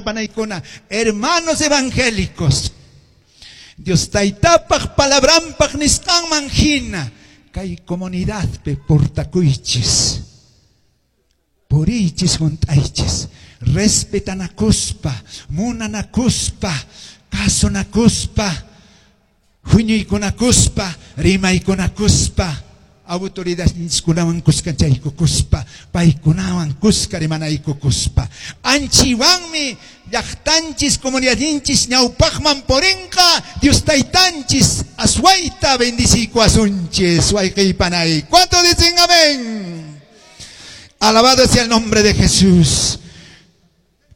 Wayqipanaykuna, hermanos evangélicos, Dios taytapaq palabranpaq nisqanman hina kay comunidadpi portakuychis, puriychis, hunt'aychis, respetanakuspa, munanakuspa, kasunakuspa, huñuykunakuspa, rimaykunakuspa, autoridadninchikkunawan kuskanchaykukuspa, paykunawan kuska rimanaykukuspa. Anchiwanmi llaqtanchis, comunidadninchis ñawpaqman purinqa, Dios taytanchis aswayta bendiciykuwasunchis, wayqiypanay. ¿Cuántos dicen amén? Alabado sea el nombre de Jesús.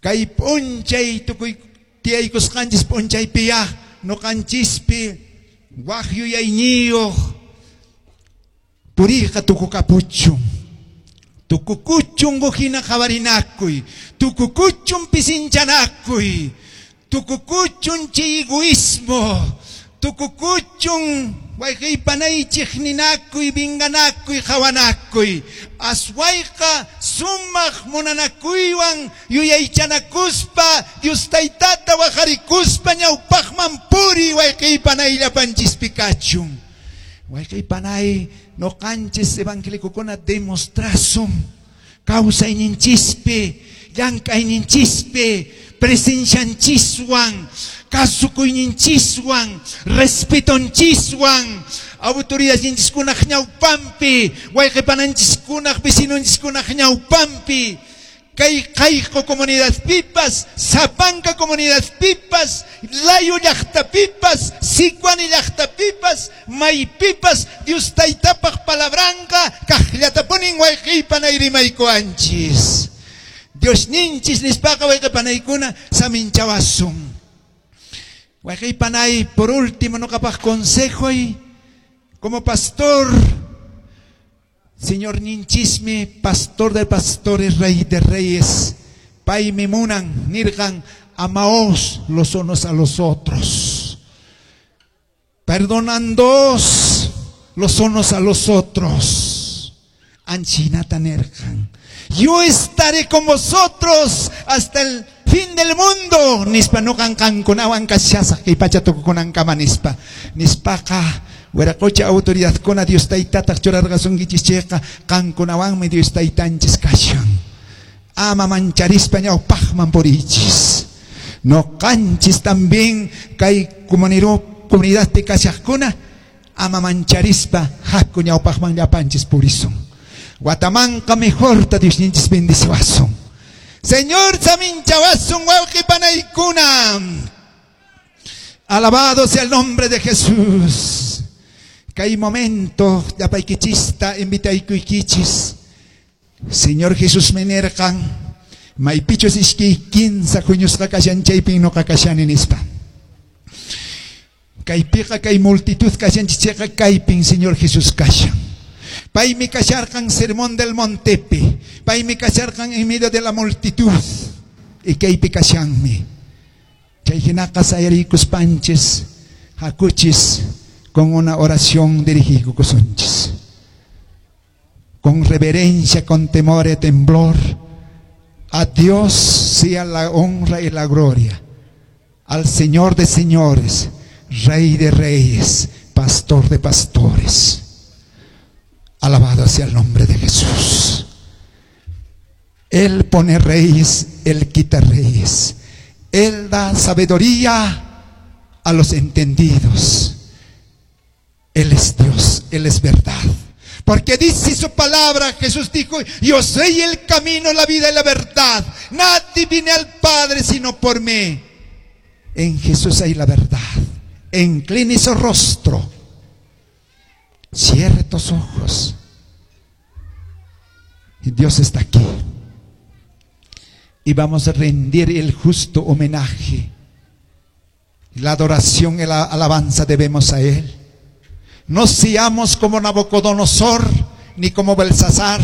Kay p'unchay tukuy tiyaykusqanchis p'unchaypiya nuqanchispi waq yuyayniyuq puriyqa tukukapuchun. Tukukuchun hina qhawarinakuy, tukukuchun pisinchanakuy, tukukuchun chay egoísmo, tukukuchun wayqiypanaychik ninakuy, vinganakuy, qhawanakuy. Aswayqa sumaq munanakuywan yuyaychanakuspa, Dios taytata waqarikuspa ñawpaqman puriy wayqiypanay llapanchispi kachun. Wayqiypanay nuqanchis evangélicokuna demostrasun kawsayninchispi, llank'ayninchispi, presencianchiswan, kasukuyninchiswan, respetonchiswan, autoridadninchiskunaq ñawpanpi, wayqipananchis vecinonchiskunaq ñawpanpi, kay qayqu comunidadpipas, Sapanka comunidadpipas, Layo llaqtapipas, Sicuani llaqtapipas, maypipas, Dios taytapaq palabranqa kaqllatapunin wayqiypanay rimaykuwanchis. Dios ninchis nispaqa wayqipanaykuna saminchawasun. Wayqiypanay, por último nuqapaq consejoy como pastor, Señor ninchismi, pastor de pastores, rey de reyes, paymi munan, nirqan, amaos los unos a los otros, perdonándoos los unos a los otros. Anchinata nirqan, yo estaré con vosotros hasta el fin del mundo. Nispa nuqan qankunawan kashasaq kay pacha tukukunankama nispa. Nispaqa wiraqocha autoridadkuna Dios taytataq churarqasunkichis chayqa qankunawanmi Dios taytanchis kashan. Ama mancharispa ñawpaqman puriychis. Nuqanchis también kay comunidadpi kashaqkuna ama mancharispa haku ñawpaqman llapanchis purisun. Watamanqa mejorta Diosninchis bendiciwasun. Señor saminchawasun wawqipanaykuna. Alabado sea el nombre de Jesús. Kay momento llapaykichista invitaykuykichis. Señor Jesús mi nirqan, maypichus iskay kinsa huñusqa kashan chaypin nuqa kashani nispa. Kaypiqa kay multitud kashanchis chayqa kaypin Señor Jesús kashan. Paymi kasharqan Sermón del Montepi, paymi kasharqan en medio de la multitud y kaypi kashanmi. Chay hinaqa sayarikuspanchis hakuchis con una oración dirigikusunchis. Con reverencia, con temor y temblor, a Dios sea la honra y la gloria, al Señor de señores, Rey de reyes, Pastor de pastores. Alabado sea el nombre de Jesús. Él pone reyes, Él quita reyes. Él da sabiduría a los entendidos. Él es Dios, Él es verdad. Porque dice su palabra, Jesús dijo, yo soy el camino, la vida y la verdad. Nadie viene al Padre sino por mí. En Jesús hay la verdad. Incline su rostro. Cierre tus ojos. Y Dios está aquí. Y vamos a rendir el justo homenaje. La adoración y la alabanza debemos a Él. No seamos como Nabucodonosor ni como Belsasar,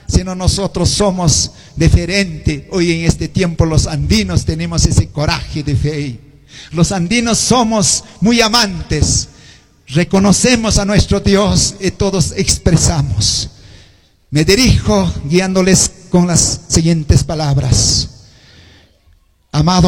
sino nosotros somos diferentes. Hoy en este tiempo los andinos tenemos ese coraje de fe. Los andinos somos muy amantes. Reconocemos a nuestro Dios y todos expresamos. Me dirijo guiándoles con las siguientes palabras. Amado